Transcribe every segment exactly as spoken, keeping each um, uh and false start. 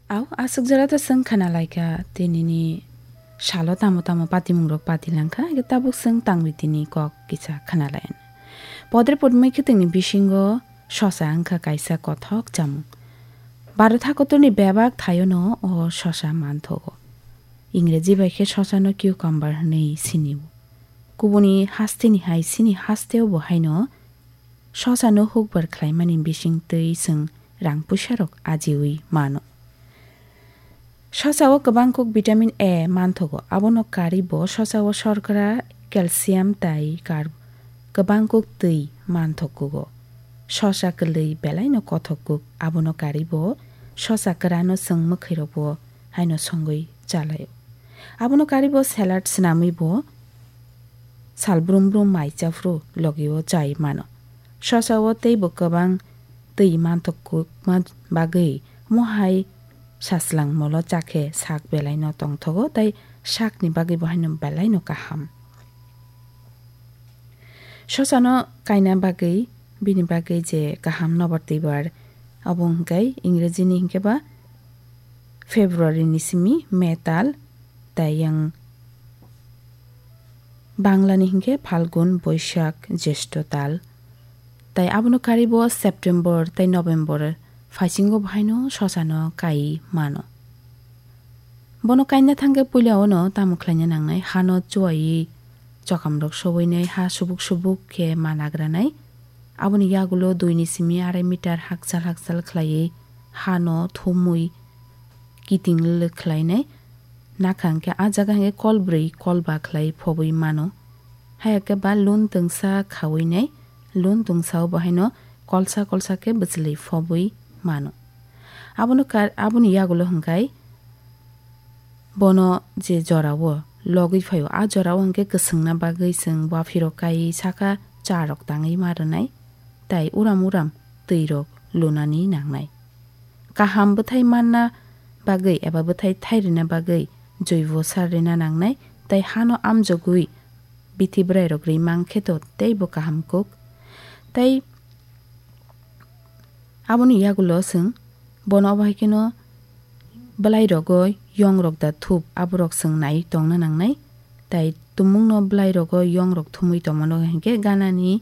Au, aswk jora to chwng khna lai kha, tinini salo tamo tamo patimungrok pati lang kha, tabuk chwng tangri tini kok kisa khna lai. Podre podmai khwtwngni bisingo sosa wngkha kaisa kothok chamung. Bharat hakotorni bebak thaiono o sosa manthogo. Ingreji bai khe sosano cucumber hwnwi sinio. Kubuni hasteni hai chini hasteo bo haino sosano hukbar khlaimani bising twi chwng rang puisarok ajiwi mano. Sosao kwbang kuk vitamin A manthogo, abono karwi bo sosao shorkra, calcium tai carb kwbang kuk twi manthokugo. Sosa kwlwi belaino kothok kuk, abono karwi bo sosa kwrano chwng mwkhwirokbo haino songwi chalaio. Abono karwi bo salad swnamwi bo sal brum brum mai chaphru logio chai mano. Sosao teibo kwbang twi manthok kukma bagwi mohai saslang molo chakhe sak belaino tongthogo tei sakni bagwi bo haino belaino kaham. Sosano kaina bagwi, bini bagwi je kaham nobar twibar, abo hwnkhe Ingrejini hwnkhe ba February ni simi May tal, tei yang Bangla ni hwnkhe Phalgun, Boishak, Jyeshtho tal, tei abono karwi bo September tei November phaisingo bo haino sosano kai mano. Bono kaina thangkhe puila ono tamo khlaina nangnai, hano chuwaiwi chokamrok sobwinai, ha subuk subuk khe ma nagranai. Aboni yagulo dui ni simi arai meter hakchal hakchal khlaiwi hano thumwi kiting lwlwk khlainai. Nakha hwnkhe a jaga hwnkhe kol brwi kol ba khlai phobwi mano. Hayakhe ba lun twngsa khawinai, lun twngsa o bo haino kolsa kolsa khe bwchwlwi phobwi mano. Abono kar-, aboni yagulo hwnkhe bono je jorao logwi phaio, a jorao hwnkhe kwswngna bagwi chwng waphirok kai saka charok tangwi ma rwnai, tei uram uram twirok lunani nangnai. Kaham bwthai manna bagwi eba bwthai thai rwna bagwi joibo sar rwna nangnai, tei hano amjogwi bithi bwrairok rwi mankhe to teibo kaham kuk. Tei aboni yagulo chwng bono obo hai kheno bwlai rogo yong rok da thup, aborok chwng nai tongna nangnai. Tai tumungno bwlai rogo yong rok thumwi tongmano hinkhe ganani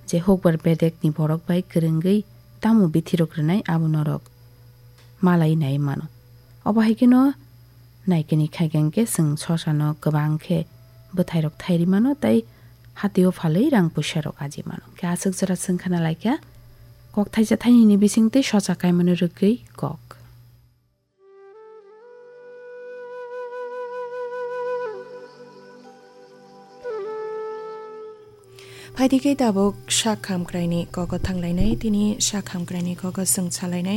je hukbar bedekni borok bai kwrwngwi tamo bithi rok rwnai abo norok malai nai mano. Obo hai kheno naikeni khaikhe hinkhe chwng sosano kwbang khe bwthai rok thai ri mano tei hatio phalwi rang puisa rok aji mano. Khe aswk jora chwng khna lai kha kok thaisa thainini bising tei sosa kaimano rwgwi kok. Phaidi khe tabuk sak hamkraini kogo thanglainai, tini sak hamkraini kogo chwng salainai.